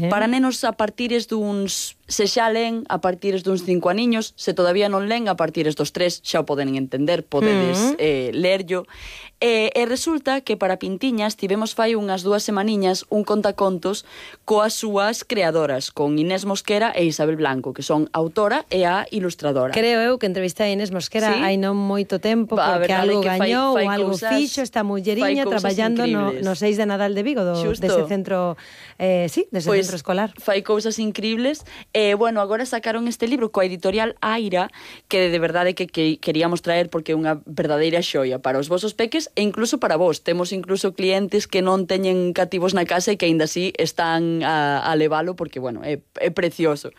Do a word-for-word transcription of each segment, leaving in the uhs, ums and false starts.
Para nenos a partires duns... Se xa len a partires duns cinco aniños, se todavía non len a partires dos tres, xa o poden entender, podedes eh, lerllo. E, e resulta que para Pintiñas tivemos fai unhas dúas semaniñas un contacontos coas súas creadoras, con Inés Mosquera e Isabel Blanco, que son autora e a ilustradora. Creo eu que entrevistei a Inés Mosquera sí? hai non moito tempo, porque algo gañou ou algo fixo esta mulleriña traballando no, no seis de Nadal de Vigo, do, dese centro, eh, sí, dese pues, centro escolar. Fai cousas increíbles. E, bueno, agora sacaron este libro coa editorial Aira, que de verdade que, que queríamos traer porque é unha verdadeira xoia para os vosos peques e incluso para vos. Temos incluso clientes que non teñen cativos na casa e que aínda así están a, a levalo porque, bueno, é, é precioso.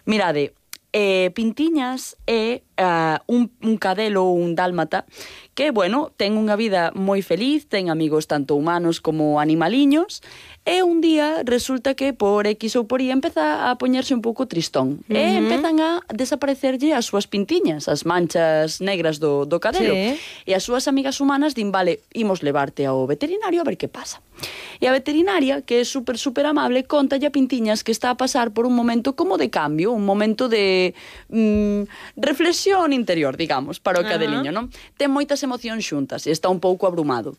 Mirade, eh, Pintiñas é uh, un, un cadelo ou un dálmata que, bueno, ten unha vida moi feliz, ten amigos tanto humanos como animaliños. E un día resulta que por X ou por Y empeza a poñerse un pouco tristón. Uh-huh. E empezan a desaparecerlle as súas pintiñas, as manchas negras do, do cadelo. Sí. E as súas amigas humanas din, vale, imos levarte ao veterinario a ver que pasa. E a veterinaria, que é super, super amable, contalle a Pintiñas que está a pasar por un momento como de cambio, un momento de mm, reflexión interior, digamos, para o cadeliño, uh-huh. non? Ten moitas emocións xuntas e está un pouco abrumado.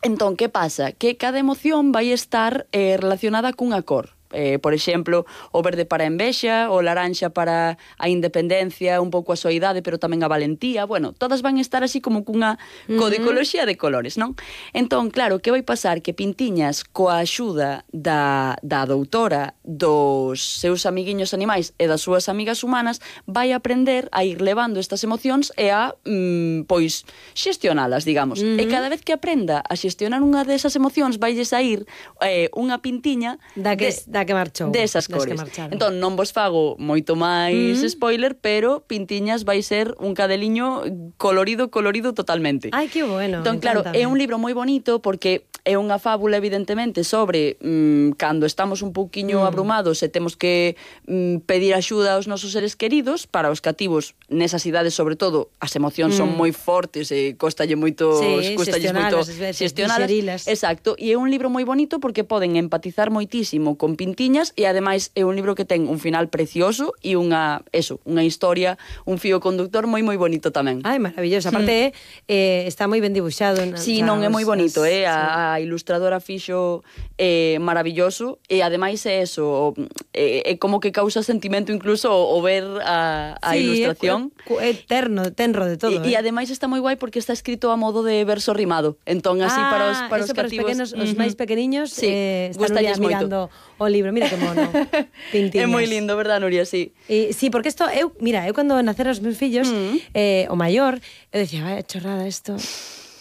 Entón, que pasa? Que cada emoción vai estar eh, relacionada cunha cor. Eh, por exemplo, o verde para a envexa, o laranxa para a independencia, un pouco a soidade, pero tamén a valentía. Bueno, todas van estar así como cunha codicoloxía de colores, non? Entón, claro, que vai pasar? Que Pintiñas, coa axuda da, da doutora, dos seus amiguiños animais e das súas amigas humanas, vai aprender a ir levando estas emocións e a, mm, pois, xestionalas, digamos. Uh-huh. E cada vez que aprenda a xestionar unha desas emocións, vaille sair eh, unha pintiña da que, de, da que marchou. Desas cores. Entón, non vos fago moito máis mm. spoiler, pero Pintiñas vai ser un cadeliño colorido, colorido totalmente. Ai, que bueno. Entón, claro, é un libro moi bonito porque é unha fábula, evidentemente, sobre mm, cando estamos un pouquiño mm. abrumados e temos que mm, pedir axuda aos nosos seres queridos. Para os cativos, nesas idades, sobre todo, as emocións mm. son moi fortes e costalle moito, sí, xestionalas, xestionalas. Exacto, e é un libro moi bonito porque poden empatizar moitísimo con Pintiñas e ademais é un libro que ten un final precioso e unha, eso, unha historia, un fío conductor moi moi bonito tamén. Ai, maravilloso. Aparte, mm. eh, está moi ben dibuixado. Si, sí, non é moi bonito, eh? A, a ilustradora fixo eh, maravilloso e ademais é eso, é, é como que causa sentimento incluso o, o ver a, a sí, ilustración. É, é terno, tenro de todo. E, eh? e ademais está moi guai porque está escrito a modo de verso rimado. Entón, así ah, para os, para os Para cativos... os, pequenos, uh-huh. os máis pequeniños sí, eh, están mirando o libro. Mira que mono. Pintiñas. É moi lindo, verdad, Nuria? Sí. E, sí, porque isto, eu, mira, eu cando naceron os meus fillos, mm. eh, o maior, eu decía, vaya chorrada isto...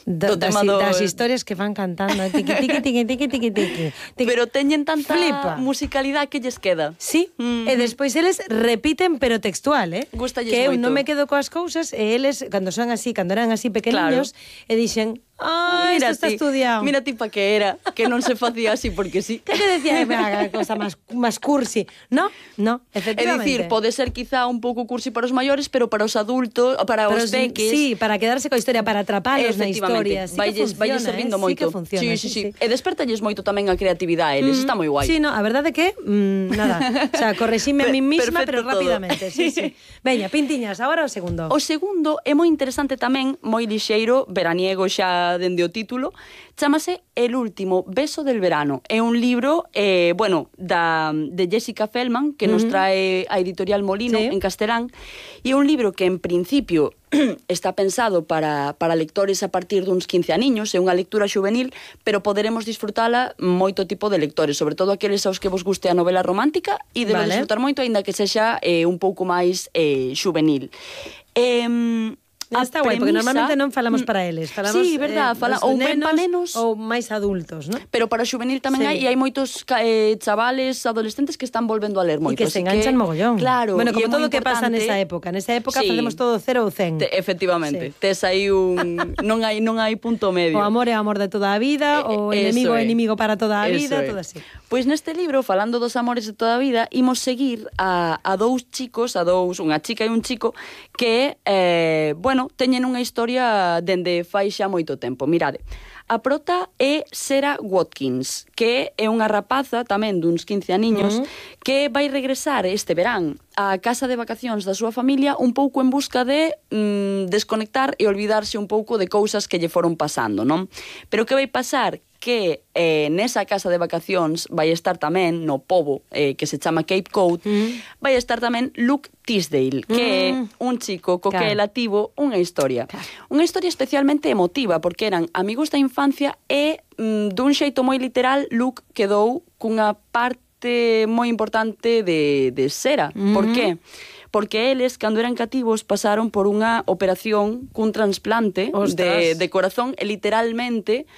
Da, das, do... das historias que van cantando tiqui, tiqui, tiqui, tiqui, tiqui, tiqui. Pero teñen tanta Flipa. musicalidade que lles queda. Sí, mm. e despois eles repiten pero textual, eh? Gústalles que eu moito. Non me quedo coas cousas e eles, cando son así, cando eran así pequeniños, claro. e dixen, ah, isto está estudiado. Mira ti pa que era, que non se facía así porque sí. Que te decía, a cosa máis más cursi. No, no, efectivamente. É dicir, pode ser quizá un pouco cursi para os maiores, pero para os adultos, para pero os peques... Sí, para quedarse coa historia, para atrapalos na historia. Sí vai, que funciona, vai servindo eh? moito. Sí que funciona. Sí, sí, sí. sí. E despertalles moito tamén a creatividade, eles, mm, está moi guai. Sí, no, a verdade que, mm, nada, o sea, correxime a mí misma, pero rápidamente. Sí, sí. Veña, Pintiñas, agora o segundo. O segundo é moi interesante tamén, moi lixeiro, veraniego xa dende o título, chámase El último beso del verano. É un libro, eh, bueno, da, de Jessica Feldman, que uh-huh. nos trae a editorial Molino, sí. en Castelán, e é un libro que en principio está pensado para, para lectores a partir duns quince aniños, é unha lectura juvenil, pero poderemos disfrutala moito tipo de lectores, sobre todo aqueles aos que vos guste a novela romántica, e debe vale. disfrutar moito, aínda que sexa eh, un pouco máis eh, juvenil. Eh, Está guai, porque normalmente non falamos para eles, falamos sí, verdad, eh, fala, ou ben para nenos ou máis adultos, ¿no? Pero para o juvenil tamén sí. hai, e hai moitos eh, chavales, adolescentes que están volvendo a ler moito. E que se enganchan que, mogollón. Claro, bueno, como todo o que pasa nesa época, nesa época sí. facemos todo cero ou cen. Te, efectivamente, sí. tes aí un non hai non hai punto medio. O amor é amor de toda a vida, eh, o enemigo é enemigo para toda a vida, todo así. Pois neste libro, falando dos amores de toda a vida, imos seguir a, a dous chicos, a dous, unha chica e un chico que, eh, bueno, teñen unha historia dende fai xa moito tempo. Mirade, A prota é Sarah Watkins, que é unha rapaza tamén duns quince aniños, uh -huh. que vai regresar este verán á casa de vacacións da súa familia un pouco en busca de mm, desconectar e olvidarse un pouco de cousas que lle foron pasando, non? Pero que vai pasar? Que eh, nesa casa de vacacións vai estar tamén, no pobo eh, que se chama Cape Cod, mm. vai estar tamén Luke Tisdale, que mm. é un chico co claro. que ela tivo unha historia. Claro. Unha historia especialmente emotiva, porque eran amigos da infancia e, mm, dun xeito moi literal, Luke quedou cunha parte moi importante de, de Sarah. Mm. Por qué? Porque eles, cando eran cativos, pasaron por unha operación cun trasplante de, de corazón e literalmente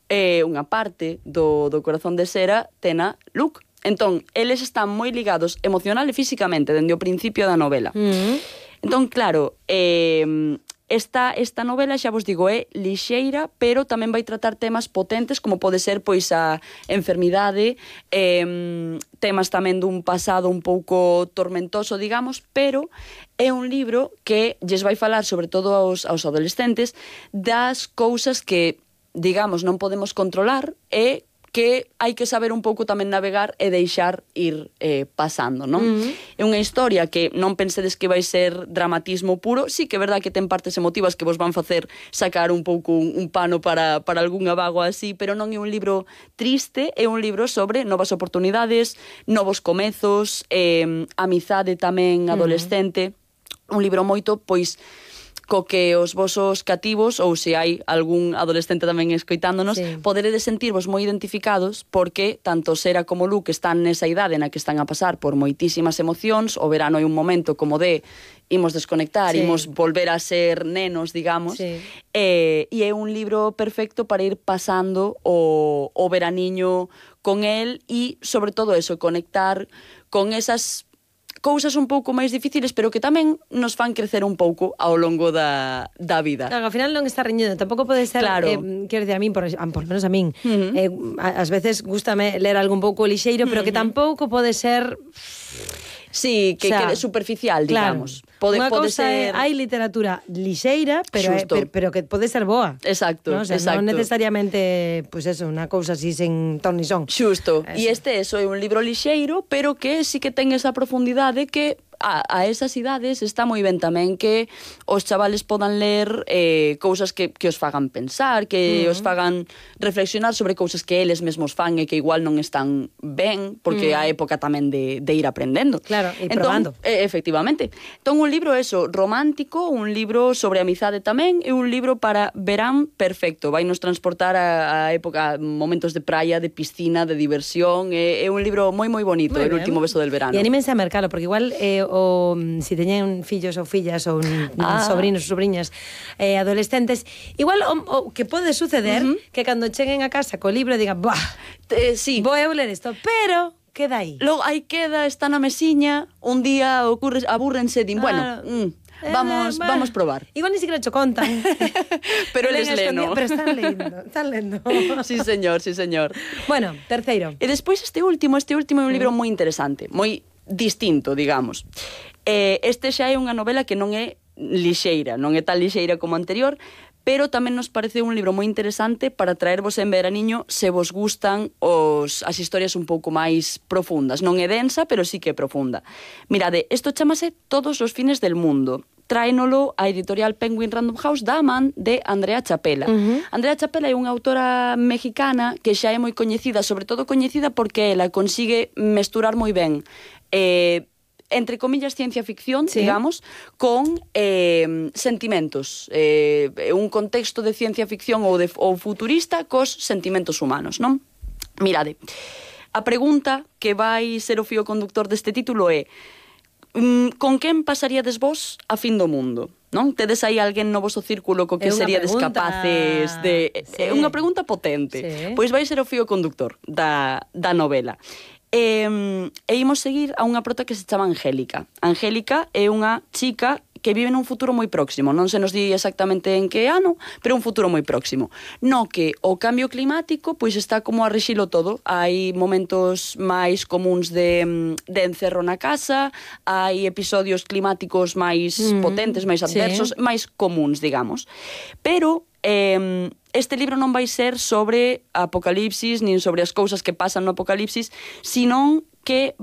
eh, unha parte do, do corazón de Sarah tena Luke. Entón, eles están moi ligados emocional e físicamente dende o principio da novela. Mm. Entón, claro, eh, esta, esta novela, xa vos digo, é lixeira, pero tamén vai tratar temas potentes como pode ser pois a enfermidade, eh, temas tamén dun pasado un pouco tormentoso, digamos, pero é un libro que lles vai falar, sobre todo aos, aos adolescentes, das cousas que digamos, non podemos controlar e que hai que saber un pouco tamén navegar e deixar ir eh, pasando, non? Uh-huh. É unha historia que non pensedes que vai ser dramatismo puro, sí que é verdad que ten partes emotivas que vos van facer sacar un pouco un, un pano para, para algunha vago así, pero non é un libro triste, é un libro sobre novas oportunidades, novos comezos, eh, amizade tamén adolescente, uh-huh. un libro moito, pois, co que os vosos cativos, ou se hai algún adolescente tamén escoitándonos, sí. poderedes sentirvos moi identificados porque tanto Sarah como Luke están nesa idade na que están a pasar por moitísimas emocións, o verano é un momento como de imos desconectar, sí. imos volver a ser nenos, digamos, sí. e, e é un libro perfecto para ir pasando o, o veraniño con el e, sobre todo eso, conectar con esas cousas un pouco máis difíciles, pero que tamén nos fan crecer un pouco ao longo da, da vida. Claro, ao final non está reñido, tampouco pode ser, claro. eh, quero dicir, a min, por, por menos a min, uh-huh. eh, ás veces gústame ler algo un pouco lixeiro, pero uh-huh. que tampouco pode ser... Sí, que, o sea, que é superficial, digamos. Claro. Pode, Unha pode cousa ser... é, hai literatura lixeira, pero, é, pero, pero que pode ser boa. Exacto, ¿no? O sea, exacto. Non necesariamente, pues eso, unha cousa así sen ton ni son. Xusto. E este, eso, é un libro lixeiro, pero que sí que ten esa profundidade que a, a esas idades está moi ben tamén que os chavales podan ler eh, cousas que, que os fagan pensar, que uh-huh. os fagan reflexionar sobre cousas que eles mesmos fan e que igual non están ben, porque uh-huh. a época tamén de, de ir aprendendo. Claro, e entón, probando. Eh, efectivamente. Entón, un libro eso, romántico, un libro sobre amizade tamén, e un libro para verán perfecto. Vai nos transportar a, a época, a momentos de praia, de piscina, de diversión. É, é un libro moi moi bonito, muy El bien. Último beso del verano. E anímense a mercalo, porque igual eh, o si teñen fillos ou fillas ou ah. sobrinos ou sobriñas eh, adolescentes, igual o, o que pode suceder uh-huh. que cando cheguen a casa co libro digan, buah, eh, sí. vou eu ler isto, pero queda aí. Logo aí queda, está na mesiña, un día ocurre, abúrrense, din, bueno, ah. mm, vamos, eh, vamos probar. Igual ni siquiera cho contan. Pero eles leno. Pero están lendo, están lendo. Sí, señor, sí, señor. Bueno, terceiro. E despois este último, este último é un libro moi interesante, moi distinto, digamos. Eh, este xa é unha novela que non é lixeira, non é tan lixeira como a anterior, pero tamén nos parece un libro moi interesante para traervos en veraniño se vos gustan os, as historias un pouco máis profundas. Non é densa, pero sí que é profunda. Mirade, isto chamase Todos os fines del mundo. Tráenolo a editorial Penguin Random House da man de Andrea Chapela. Uh-huh. Andrea Chapela é unha autora mexicana que xa é moi coñecida, sobre todo coñecida porque ela consigue mesturar moi ben eh, entre comillas, ciencia ficción, sí. digamos, con eh, sentimentos. Eh, un contexto de ciencia ficción ou, de, ou futurista cos sentimentos humanos, non? Mirade, a pregunta que vai ser o fío conductor deste título é con quen pasaríades vos a fin do mundo? Non? Tedes aí alguén no voso círculo co que seríades pregunta... capaces de... Sí. É unha pregunta potente. Sí. Pois vai ser o fío conductor da, da novela. E, e imos seguir a unha prota que se chama Angélica. Angélica é unha chica que vive nun futuro moi próximo, non se nos di exactamente en que ano, pero un futuro moi próximo, no que o cambio climático pois está como a rexilo todo. Hai momentos máis comuns de, de encerro na casa, hai episodios climáticos máis mm, potentes, máis adversos, sí. máis comuns, digamos. Pero eh, este libro non vai ser sobre apocalipsis, nin sobre as cousas que pasan no apocalipsis, senón que